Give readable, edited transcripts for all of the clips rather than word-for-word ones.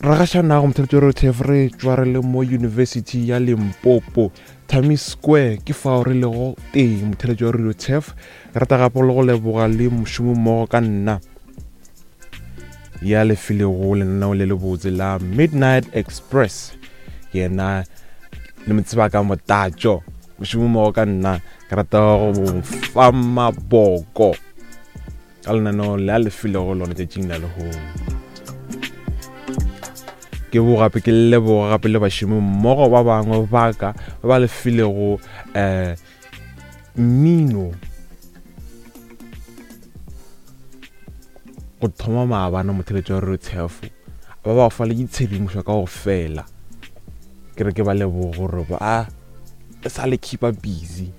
Ragašanago motheletši wa RTF re tšwa re le mo University ya Limpopo Thami Square ke fao re lego teng motheletši wa Radio Turf re rata gape le go leboga le mošomo mmogo ka nna ya lefilego lenaneo le lebotse la Midnight Express yena le mo tseba ka motatšo mošomo mmogo ka nna ke rata go fa maboko ka lenaneo le a le filego lone tšatšing la lehono ke bo gape ke leboga gape le bašomi mmogo ba bangwe ba ka ba ba le filego um mmino go thoma maabane motheletši wa re tshefo ba ba fa le ditshedimošo ka go fela ke re ke ba lebogo gore ba sa le keepa busy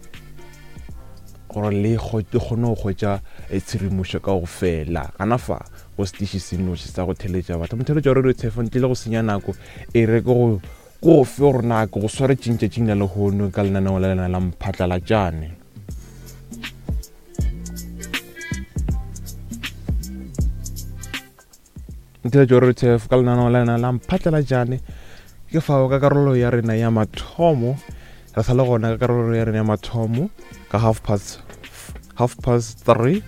gore le kgone go hwetša eh, tshedimošo ka go fela gana fa go setiši se noši sa go theletša batho motheletša wa radio tshefo ntle le go senya nako e re ke go ko go fe gore na ke go swaretšeng tšatšing la lehono ka lenaneo la lena la mphatlalatšane Ntheletšo re TF ka lenaneo la lena la mphatlalatšane ke fao ka karolo ya rena ya mathomo re sa le gona ka karolo ya rena ya mathomo ka half past half past three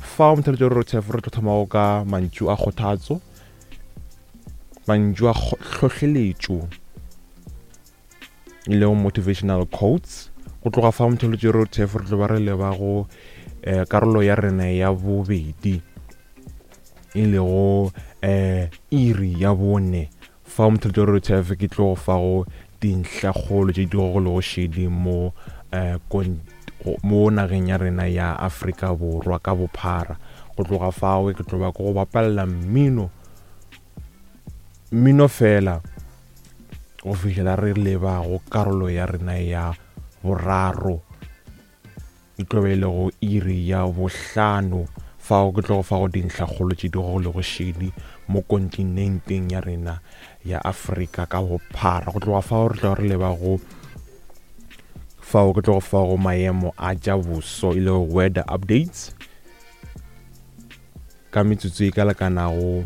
fao motheletšo re TF re tlo thomago ka mantšu a kgothatso mantšu a hlohleletšo e lego motivational quotes go tloga fa motheletšo re TF re tlo ba re leba go eh, karolo ya rena ya bobedi e lego um iri ya bone fa motheletšo wa rtf ke tlo go fago dintlhakgolo tše di gogolego šedi mo um mo nageng ya rena ya Afrika Borwa ka bophara go tloga fao ke tlo ba ke go bapalela mmino mmino fela go fihlela re leba go karolo ya rena ya boraro E tlo be e lego iri ya bohlano fao ke tlo go fago dintlhakgolo tše di gogolego šedi mo kontinenteng ya rena ya Afrika ka bophara. Go tloga fao re tlo re leba go fao ke tlo go fago maemo a tša boso e lego weather updates ka metsotso e ka lekanago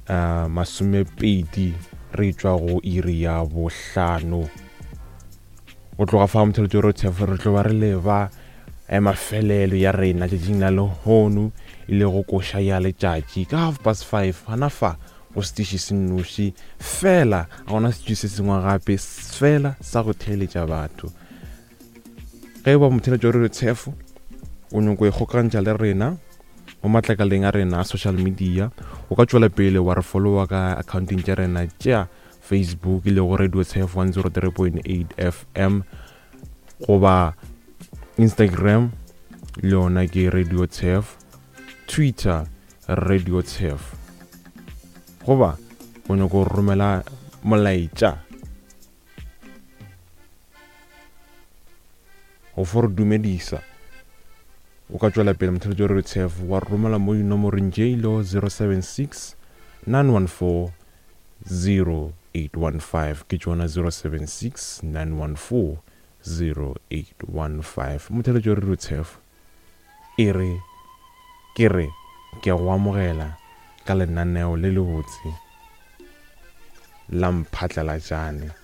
uh, masomepedi re tšwa go iri ya bohlano. Go tloga fa motheletšo re tshefo re tlo ba re leba eh, mafelelo ya rena tšatšing la lehono e le go koša ya letšatši ka half past five gana fa go setiši se nnoši fela ga gona setši se sengwe gape fela sa go theeletša batho ge e ba motheletšo re tshefo o nyoko e kgokantšha le rena mo matlakaleng a rena a social media o ka tšwela pele wa re followa ka accounting tša rena tša Facebook e lego Radio Tshef 103.8 FM goba Instagram le yona ke Radio Tshef, Twitter Radio Tshef goba o nyako romela molaetša go fo re dumedisa o ka tšwela pele motheletši wa Radio Tshef wa romela mo dinomorong tše e lego 076 914 0815 ke tšona 076 914 0815 motheletšo re rutshefo e re ke re ke go amogela ka lenaneo le lebotse la mphatlalatšane.